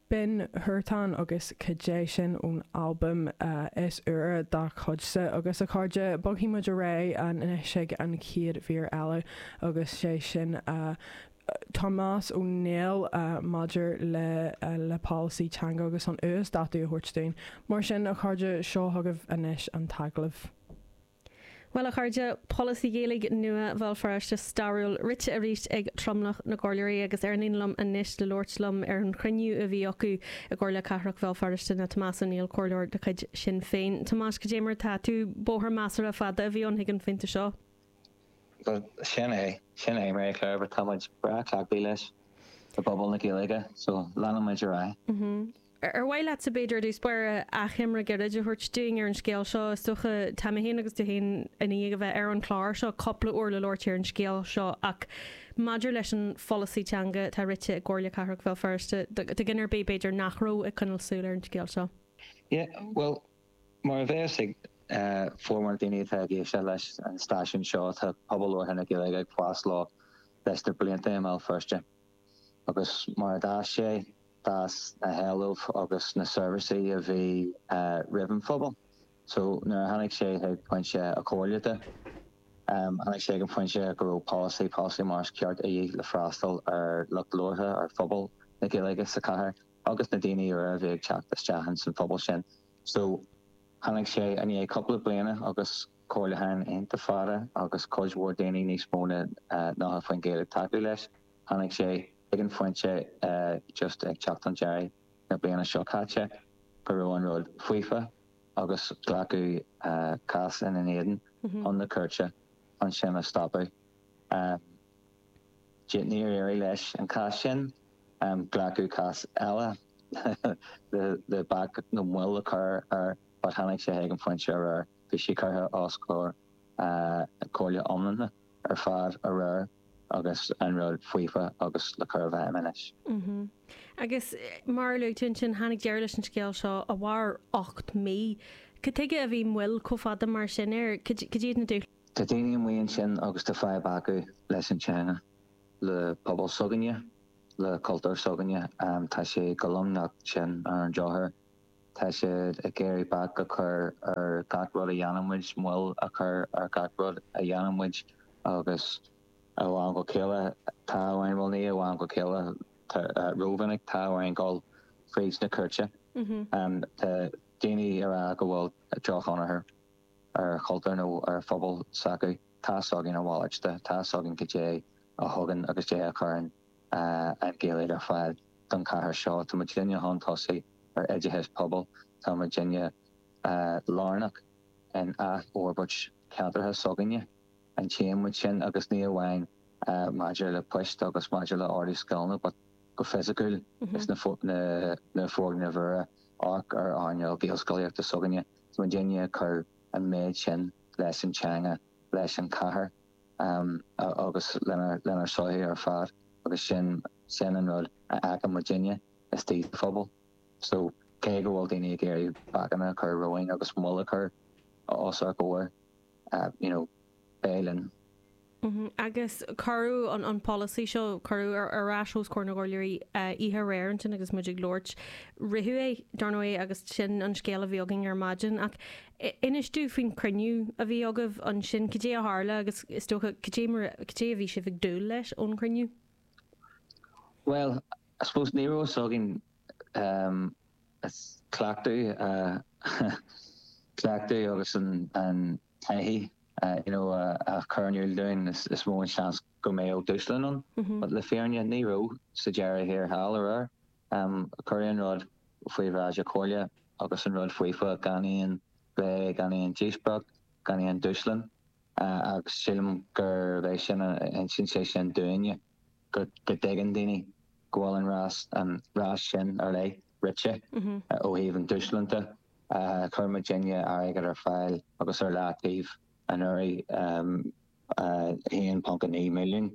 B'in Huartan agus Cad é sin ón albam is úire dá chuidse. Agus a chairde, bogfaidh muid ar aghaidh anois ag an chéad mhír eile agus sé sin Tomás Ó Néill maidir le le polasaí teanga agus an uasdátú a thabhairt dúinn. Mar sin, a chairde, seo chugaibh anois an t-agallamh. Bhuel, a chairde, polasaí Gaeilge nua Bhéal Feirste stairiúil rite arís ag tromlach na gcomhairleoirí agus ar an líne liom anois le labhairt liom ar an chruinniú a bhí acu i gComhairle Cathrach Bhéal Feirste ná Tomás Ó Néill, comhairleoir de chuid Sinn Féin. Tomás, cad é mar atá tú? Bóthar measartha fada a bhí ann chuig an phointe seo. Bhuel, sin é, sin é, Mary Claire, but tá muid breá cleachtaithe leis i bpobal na Gaeilge, so leanann muid ar aghaidh. Ar mhaith leatsa, b'fhéidir, i dtús báire, achoimre gairid a thabhairt dúinn ar an scéal seo? Is dócha, tá mé féin agus tú féin i ndiaidh a bheith ar an chlár seo cúpla uair le labhairt ar an scéal seo ach maidir leis an pholasaí teanga atá rite i gComhairle Cathrach Bhéal Feirste, do dhuine ar bith, b'fhéidir, nach raibh ag coinneáil súil ar an scéal seo. Yeah, bhuel, mar a bheas ag formhór na daoine atá ag éisteacht leis an stáisiún seo, tá pobal labhartha na Gaeilge ag fás leo leis na blianta i mBéal Feirste. Agus mar a d'fhás sé, d'fhás na héilimh agus na seirbhísí a bhí roimh an phobal. So nuair a tháinig sé chuig pointe a comhairle de, tháinig sé ag an phointe go raibh polasaí, polasaí mar is ceart a dhíth le freastal ar lucht labhartha, ar phobal na Gaeilge sa chathair agus na daoine úra a bhí ag teacht isteach ins an phobal sin. So tháinig sé i ndiaidh cúpla bliana agus comhairliúcháin iontach fada agus cuid mhór daoine, níos mó ná 90% ag tacú leis. Tháinig sé ag an phointe just ag teacht chun deiridh na bliana seo caite go raibh an rud faofa agus glacadh cás ina n-éadan chun na cúirte chun sin a stopadh. Níor éirigh leis an cás sin. Glacadh cás eile le bac nó moill a chur air but tháinig sé ag an phointe aréir bhí sé curtha os comhair comhairle iomlán ar fad aréir agus an rud faofa agus le cur i bhfeidhm anois. Agus mar a luaigh tú ansin, tháinig deireadh leis an scéal seo a mhair 8 mí. Cad tuige a bhí moill chomh fada mar sin air? Cad iad na dúshláin? Tá daoine amuigh ansin agus tá fadhb acu leis an teanga, le pobal s'againne, le cultúr s'againne. Tá sé go lomnocht sin ar an drochuair. Tá siad ag iarraidh bac a chur ar gach rud a dhéanann muid, moill a chur ar gach rud a dhéanann muid agus ó am go chéile tá orainn, bhuel ní ó am go chéile, rómhinic tá orainn dul fríd na cúirte. Tá daoine ag rá go bhfuil drochthionchar ar chultúr nó ar phobal s'acu. Tá's againn a mhalairt de, tá's againn goidé a thugann agus goidé a chuireann an Ghaeilge ar fáil don chathair seo. Tá muidinne chun tosaigh ar oideachas pobail, tá muidinne lárnach in athfhorbairt ceantartha s'againne, an tchíonn muid sin agus ní amháin maidir le poist agus maidir le ardú scileanna but go fisiciúil is na foirgnimh úra, amharc ar earnáil Gaelscolaíochta s'againne, tá muidinne ag cur an méid sin leis an teanga, leis an chathair. agus lenár sochaí ar fad agus sin sin an rud a fheiceann muidinne istigh sa phobal. So cé go bhfuil daoine ag iarraidh bacanna a chur romhainn agus moill a chur os ár gcomhair, you know, beidh linn. Agus cuireadh an an polasaí seo, cuireadh ar ar ais os comhair na gcomhairleoirí oíche aréir ansin agus muid ag labhairt. Ritheadh é, dar ndóigh, agus sin an scéal a bhí againn ar maidin. Ach Inis dúinn faoin chruinniú a bhí agaibh ansin, cad é a tharla agus is dócha cad é mar, cad é a bhí sibh ag dúil leis ón chruinniú? Bhuel, I suppose ní raibh fhios againn cleachtadh, cleachtadh agus an taithí you know a chur in iúl dúinn is mó an seans go mbeadh dúshlán ann. But le fírinne ní raibh sa deireadh thiar thall aréir. Cuireadh an rud faoi bhráid na comhairle agus an rud faofa gan aon phlé, gan aon díospóireacht, gan aon dúshlán agus sílim gurb é sin a insíonn sé sin dúinne, go dtuigeann daoine go bhfuil an rás, an rás sin ar leith rite ó thaobh an dúshlán de. Chuir muidinne airgead ar fáil agus ar leataobh anuraidh, 1.9 milliún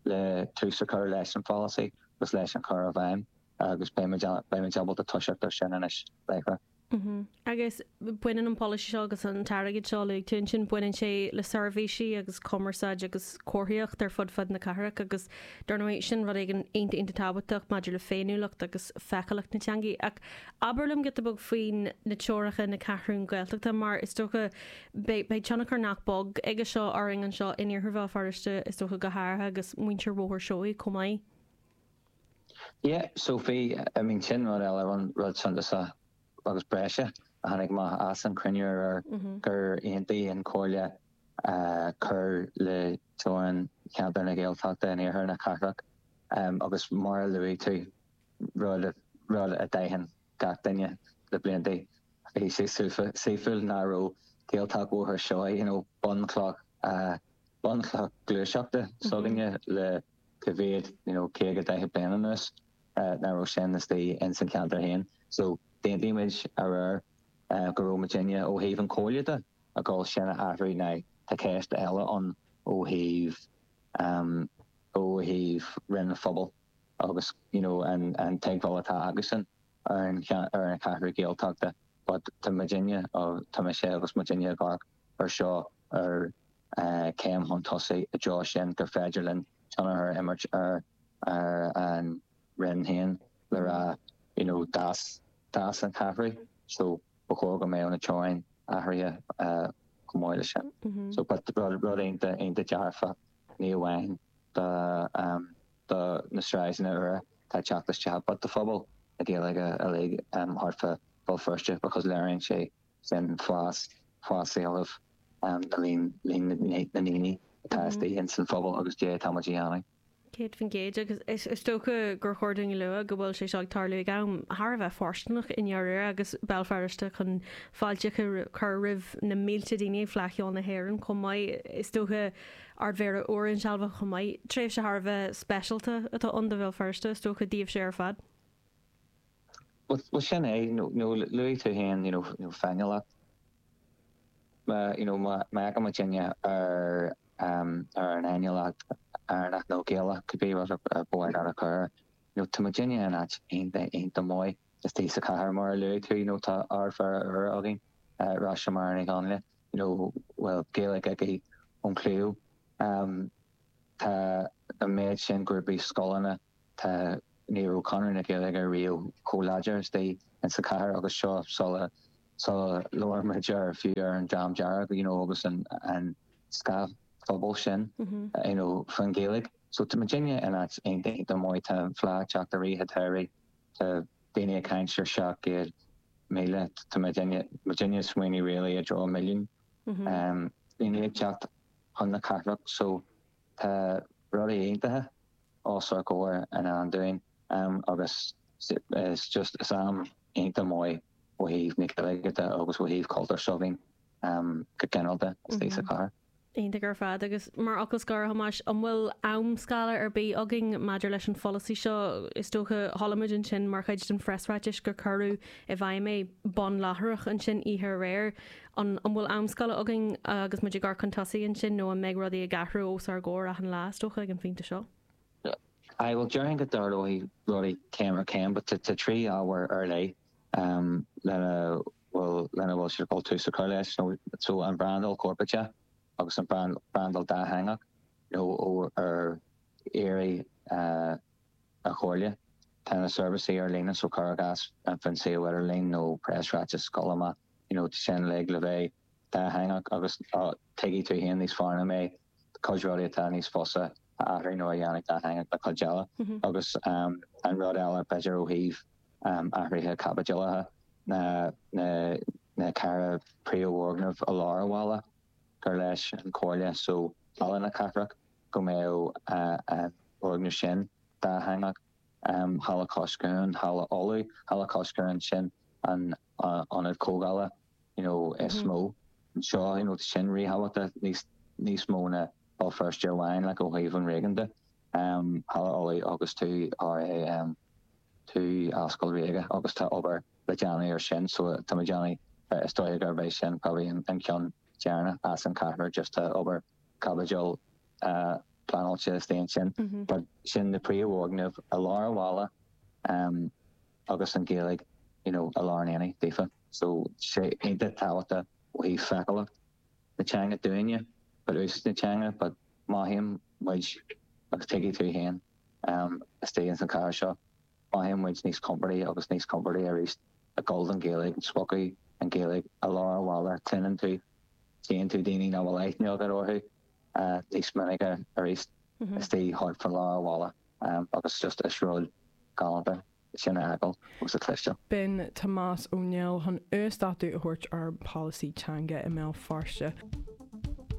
le tús a chur leis an pholasaí agus leis an chur i bhfeidhm agus beidh muid ábalta toiseacht ar sin anois láithreach. Agus baineann an polasaí seo agus an t-airgead seo a luaigh tú ansin, baineann sé le seirbhísí agus cumarsáid agus comharthaíocht ar fud fad na cathrach agus dar ndóigh sin rud éigin iontach iontach tábhachtach maidir le féiniúlacht agus feiceálacht na teangaí. Ach abair liom giota beag faoin na teoracha na Ceathrún Gaeltachta mar is dócha beidh beidh tionchar nach beag aige seo orainn anseo in Iarthar Bhéal Feirste is dócha go háirithe agus muintir Bhóthar Seoighe chomh maith. Yeah, Sophie, I mean sin rud eile, rud suntasach agus breise a tháinig amach as an chruinniú aréir gur aontaigh an Chomhairle cur le teorainn cheantar na Gaeltachta in iarthar na cathrach agus mar a luaigh tú, rud rud a d'aithin gach duine le blianta, bhí sé saoithiúil nach raibh Gaeltacht Bhóthar Seoighe, you know, bunchloch bunchloch gluaiseachta s'againne le cá mhéad, you know, 50, 40 bliain anuas nach raibh sin istigh ins an cheantar féin. So d'aontaigh muid aréir go raibh muidinne ó thaobh an Chomhairle de ag dul sin a athrú. Now tá ceist eile ann ó thaobh ó thaobh Roinn an Phobail agus you know an an teagmháil atá acusan ar an ar an cheathrú Gaeltachta but tá muidinne tá mise agus muidinne ag amharc ar seo ar céim chun tosaigh i dtreo sin gur féidir linn tionchar a imirt ar an Roinn féin le rá you know d'fhás d'fhás an cheathrú so ba chóir go mbeadh na teorainn athraithe chomh maith leis sin. So but rud rud iontach iontach dearfach ní amháin do do na sráideanna úra atá ag teacht isteach but do phobal na Gaeilge uilig thart fá Bhéal Feirste because léiríonn sé sin fás, fás éilimh na líon, líon na ndaoine atá istigh ins an phobal agus dé atá muid a dhéanamh. 100% agus is dócha gur chóir dúinn a lua go bhfuil sé seo ag tarlú ag am thar a bheith fóirsteanach i ndáiríre agus Béal Feirste chun fáilte a chur roimh na mílte daoine ag Fleadh Cheoil na hÉireann chomh maith. Is dócha Ard-Mhéara úr insealbhaithe chomh maith. Tréimhse thar a bheith speisialta atá ann do Bhéal Feirste is dócha, daoibhse ar fad. Bhuel sin é, nó luaigh tú féin you know féiniúlacht. Má you know má fhéachann muidinne ar ar an fhéiniúlacht Éireannach nó Gaelach, cibé rud a ba mhaith leat a chur air, you know tá muidinne in áit iontach iontach maith istigh sa chathair mar a luaigh tú, you know tá Ard-Mhéara úr againn, Róise Máire Ní Chonghaile, you know bhfuil Gaeilge aici ón chliabh. Tá an méid sin grúpaí scoileanna, Tá, ní raibh Conradh na Gaeilge riamh chomh láidir istigh in sa chathair agus seo sula, sula labhair muid ar, fiú ar an Dream Dearg, you know, agus an, an scáthphobal sin, you know, faoin Ghaeilge. So tá muidinne in áit iontach, iontach maith, tá an Fleadh ag teacht i rith an tsamhraidh, tá daoine ag caint ar 700,000, tá muidinne, muidinne ag smaoineamh really i dtreo milliún daoine ag teacht chun na cathrach so tá rudaí iontacha os ár gcomhair i ndán dúinn agus is just is am iontach maith ó thaobh na Gaeilge de agus ó thaobh cultúr s'againn go ginearálta istigh sa chathair. Iontach ar fad. Agus mar fhocal scoir, a Thomáis, an bhfuil am-scála ar bith againn maidir leis an pholasaí seo? Is dócha, chuala muid ansin mar chuid den phreasráiteas gur cuireadh i bhfeidhm é bonn láithreach ansin oíche aréir. An bhfuil am-scála againn agus muid ag amharc chun tosaigh ansin nó an mbeidh rudaí ag athrú os ár gcomhair achan lá, is dócha, ag an phointe seo? Aye, bhuel, déarfainn go dtarlóidh rudaí céim ar chéim, but tá 3 ábhar ar leith lena bhfuil lena bhfuil siad ag dul tús a chur leis, nó so an brandáil chorparáideach agus an brandáil dátheangach, nó ó ar iarraidh an Chomhairle. Tá na seirbhísí ar líne, so cuir i gcás an faoin suíomh idirlín nó preasráiteas ag dul amach. you know sin uilig le bheith dátheangach agus tuigfidh tú féin níos fearr ná mé cuid rudaí atá níos fusa a athrú nó a dhéanamh dátheangach ná cuid eile agus an rud eile b'fhéidir ó thaobh athruithe caibidealacha ná na na ceithre príomhfhoirgneamh i lár an bhaile gur leis an Chomhairle so Halla na Cathrach go mbeadh an foirgneamh sin dátheangach. Halla Cois Cuain, Halla Uladh, Halla Cois Cuain, sin an ionad comhdhála you know is mó anseo, you know sin ríthábhachtach níos níos mó ná Béal Feirste amháin like ó thaobh an réigiúin de. Halla Uladh agus 2 RAM 2 Ascaill Ríoga agus tá obair le déanamh ar sin so tá muid déanamh is dóigh gurb é sin probably an ceann deireanach as an ceathrar just tá obair caibidil pleanáilte istigh ansin. But sin na príomhfhoirgnimh i lár an bhaile agus an Ghaeilge you know i lár an aonaigh daofa. So sé iontach tábhachtach ó thaobh feiceálacht na teanga dúinne, but úsáid na teanga, but mothaíonn muid agus tuigfidh tú féin istigh ins an chathair seo, mothaíonn muid níos compordaí agus níos compordaí arís ag gabháil don Ghaeilge, ag spochadh an Ghaeilge i lár an bhaile, cluineann tú, tchíonn tú daoine nach bhfuil aithne agat orthu níos minice arís istigh thart fá lár an bhaile agus just is rud galánta sin a fheiceáil agus a chloisteáil. B'in Tomás Ó Néill chun uasdátú a thabhairt ar pholasaí teanga i mBéal Feirste.